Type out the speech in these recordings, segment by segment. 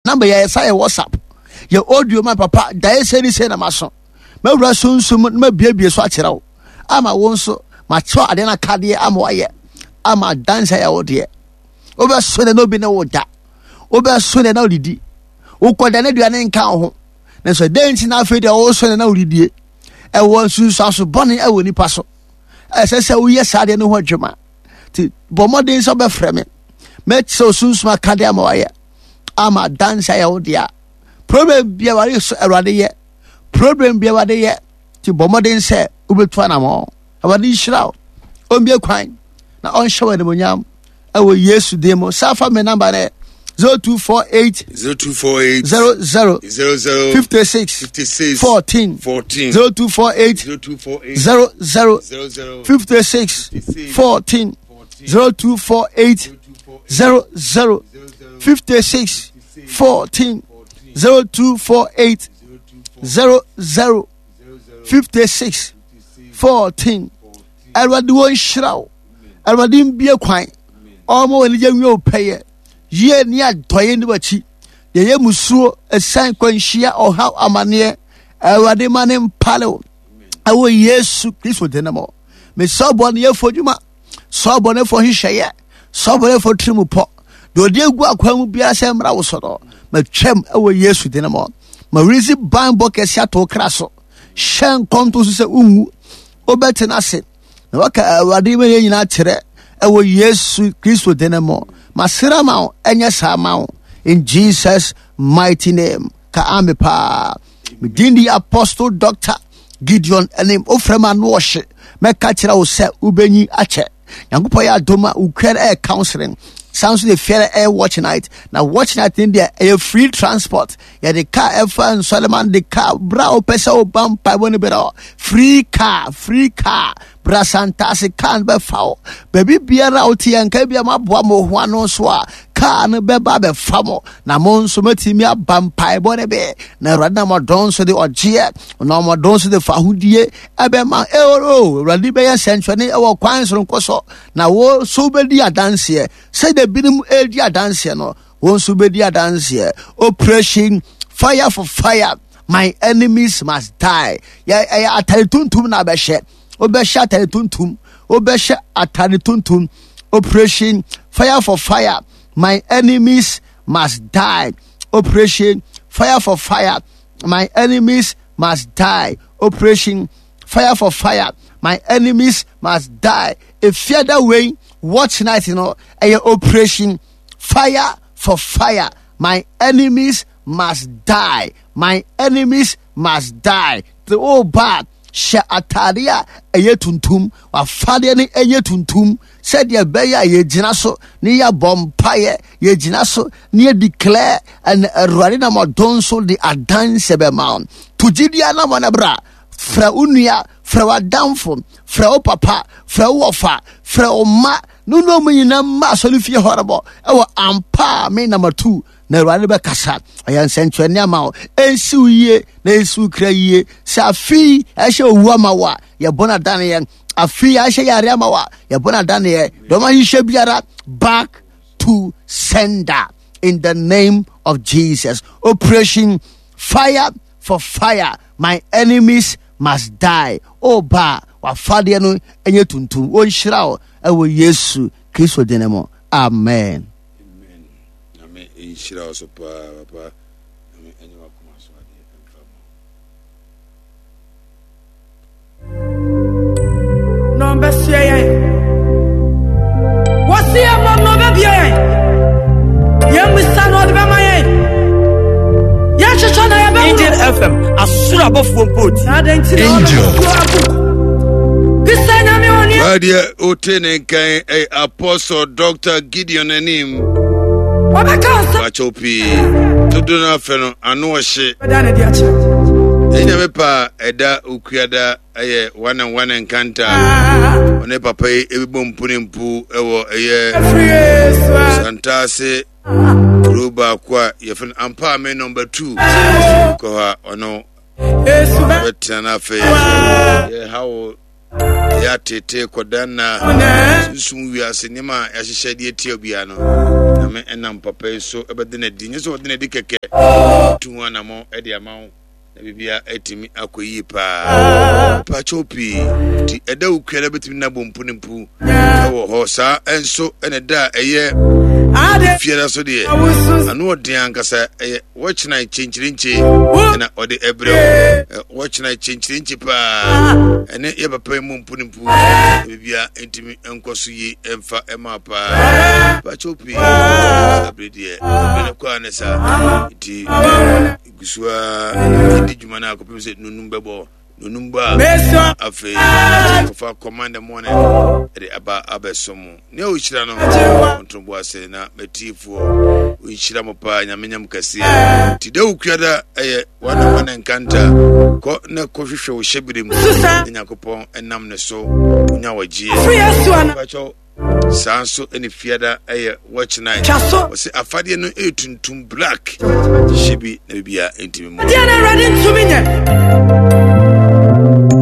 Number yɛ sa yɛ WhatsApp. Yɛ audio ma papa daeɛ sɛ ni sɛ na maso. Mɛwura sunsum na mabiebie so akyerɛ wo. Ama wo nso makyerɛ adeɛ no akadeɛ ama wayɛ. Ama adanse ayɛ wo deɛ. Wobɛso ne na obi ne wo da. Wobɛso ne na wodidi. Wokɔda ne aduane nka wo ho. Nanso dɛn nti na afei deɛ woso ne na wodidie? Ɛwɔ nsunsuanso bɔne ɛwɔ nipa so. Ɛsɛ sɛ woyɛ saa adeɛ no ho adwuma. Nti bɔ mmɔden sɛ wobɛfrɛ me. Mɛkyerɛ wo sunsum akadeɛ ama wayɛ. Ama adanse ayɛ wo dea. Problem bia awurade so awurade yɛ. Problem bia awurade yɛ. Nti bɔ mmɔden sɛ wobɛtu anamɔ. Awurade nhyira wo. Ɔmbie kwan na ɔnhyɛ wo animuonyam ɛwɔ Yesu din mu. Saa fa me namba no 0248 0248 00 00 56 56 14 14 0248 0248 00 00 56 14 0248 00 56 14 0248 00 56 14 Awurade wɔ nhyira wo. Awurade mbie kwan. Ɔma wɔ anigye nwie wo pɛyɛ. Yie ne adɔeɛ ne w'akyi. Deɛ ɛyɛ musuo, ɛsan kwanhyia, ɔhaw, amaneɛ. Awurade ma ne mpale wo. Ɛwɔ Yesu Kristo din mu. Mesɛ ɔbɔneyɛfoɔ dwuma, sɛ ɔbɔnefoɔ nhyehyɛeɛ, sɛ ɔbɔnefoɔ tiri mu pɔ. Deɛ ɔde agu akwan mu biara sɛ mmra wo so no, matwam ɛwɔ Yesu din mu. Ma weresi banbɔ kɛse ato wo kra so. Hyɛ nkɔmto so sɛ wonwu, wobɛtena ase na waka Awurade ma yɛn nyinaa kyerɛ ɛwɔ Yesu Kristo din mu. Masrɛ ma wo, ɛnyɛ saa ma wo. In Jesus mighty name. Ka ame paa. Medin di Apostle Doctor Gideon anim. Wofrɛ ma ano ɔhye. Mɛka kyerɛ wo sɛ wobɛnyi akyɛ. Nyankopɔn yɛ adom a wokura ɛyɛ counseling. San so de fiara ɛyɛ watch night. Na watch night ne deɛ ɛyɛ free transport. Yɛde car ɛfa nsɔlema de car bra wopɛ sɛ woba mpaebɔ no bɛrɛ free car free car bra santase car no bɛfa wo. Baabi biara a wote yɛn nka bia moaboa mo ho ano nso a car no bɛba bɛfa mo na mo nso matumi aba mpaebɔ no bɛ na awurade na mɔdɔn nso de ɔgyeɛ na ɔmɔdɔn nso de fahodie ɛbɛma ɛo awurade bɛyɛ sɛnkyerɛnne ɛwɔ kwan soronko so na wo nso wobɛdi adanseɛ sɛdeɛ binom ɛredi adanseɛ no wo nso wobɛdi adanseɛ. Operation fire for fire, my enemies must die. Yɛ ɛyɛ atare tuntum na abɛhyɛ. Wobɛhyɛ atare tuntum, wobɛhyɛ atare tuntum. Operation fire for fire, my enemies must die. Operation fire for fire, my enemies must die. Operation fire for fire, my enemies must die. Efiada wei watch night no ɛyɛ operation fire for fire, my enemies must die. My enemies must die. The old bad hyɛ ataade a ɛyɛ tuntum, wafadeɛ no ɛyɛ tuntum sɛdeɛ ɛbɛyɛ a yɛgyina so ne yɛabɔ mpaeɛ, yɛgyina so ne yɛ declare ɛna awurade nam ɔdɔn so de adanse bɛma wo. To gyidie anamɔ no bra, frɛ wo nua, frɛ w'adamfo, frɛ wo papa, frɛ wo wɔfa, frɛ wo mma, ne ne ɔmo nyinaa mma asɔre fie hɔ rebɔ ɛwɔ ampa a me nam atu na awurade bɛkasa ɔyɛ nsɛnkyerɛnne ama wo ɛnsi wo yie na ɛnsi wo kra yie sɛ afei ɛhyɛ owu ama wo a yɛbɔ no adaneɛ afei ahyɛ yare ama wo a yɛbɔ no adaneɛ dɔm ahyehyɛ biara back to sender in the name of Jesus. Operation fire for fire, my enemies must die. Oh ba, wafadeɛ no ɛnyɛ tuntum. Wɔnhyira wo ɛwɔ Yesu Kristo din mu. Amen. Amen. Nyame nhyira wo so paa papa. Nyame ɛnyɛ wakoma so adeɛ ɛmfa ma. Na ɔbɛsoɛ yɛn. Wɔsi yɛn mmom na ɔbɛbie yɛn. Yɛn mmisa na ɔde bɛma yɛn. Yɛn hwehwɛ na yɛbɛhunu. Angel FM asoro abɔfoɔ mpo ti. Na adɛn nti na ɔno Angel. nsuo agu? Bisa nyame ɔne. Wadeɛ wote ne nkan ɛyɛ Apostle Dr. Gideon anim. Wɔbɛka nsɛm. Wakyɛw pii. Dodo no afɛ no ano ɔhye. Bɛda ne de akyerɛ. Ɛnyɛ me pa ɛda okuada ɛyɛ one and one nkanta. Ɔne papa yi ebibɔ mpu ne mpu ɛwɔ ɛyɛ Santase kuro baako a yɛfrɛ no Ampaame number 2. Kɔ hɔ a ɔno bɛtena no afei yɛha wo ɛyɛ atete kɔda nna sunsum wiase nneɛma a yɛahyehyɛ de atia obiara no nyame ɛnam papa yi so ɛbɛde no adi nyɛ sɛ ɔde no adi kɛkɛ. Tu ho anammɔn de ama wo na biribiara atumi akɔ yie paa. Pakyɛw pii nti ɛda wo kua da bɛtumi na bɔ mpu ne mpu ɛwɔ hɔ saa nso ɛna ɛda a ɛyɛ fiada so deɛ ano ɔden ankasa ɛyɛ wɔkyena kyenkyerenkye ɛna ɔde ɛbrɛ wo wɔkyena kyenkyerenkye paa ɛne yɛ papa yi mu mpu ne mpu biribiara ntumi nkɔ so yie ɛmfa ɛma paa pakyɛw pii abere deɛ abere no kɔ a ne saa nti gu so ara di dwuma no akɔpem sɛ nonum bɛbɔ. Nonum bɔ a, afei kɔfa command the morning ɛde aba abɛso mo. Nea ɔhyira no ɔntobo ase na matiefoɔ ɔnhyira mo paa. Nyame nyam kɛseɛ. Nti da wokuada ɛyɛ wane wane nkanta kɔ na kɔhwehwɛ wo hyɛbere mu na Nyankopɔn ɛnam ne so nya wɔgyeɛ. Saa nso ne fiada yɛ watch night. Wɔsɛ afadeɛ no yɛ tuntum black. Hyɛ bi na biribiara ntumi mu. Deɛ na Awurade ntumi nyɛ.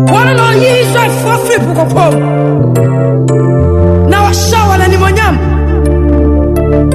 Wɔn na ɔyi Israelfoɔ firi po kɔkɔɔ mu.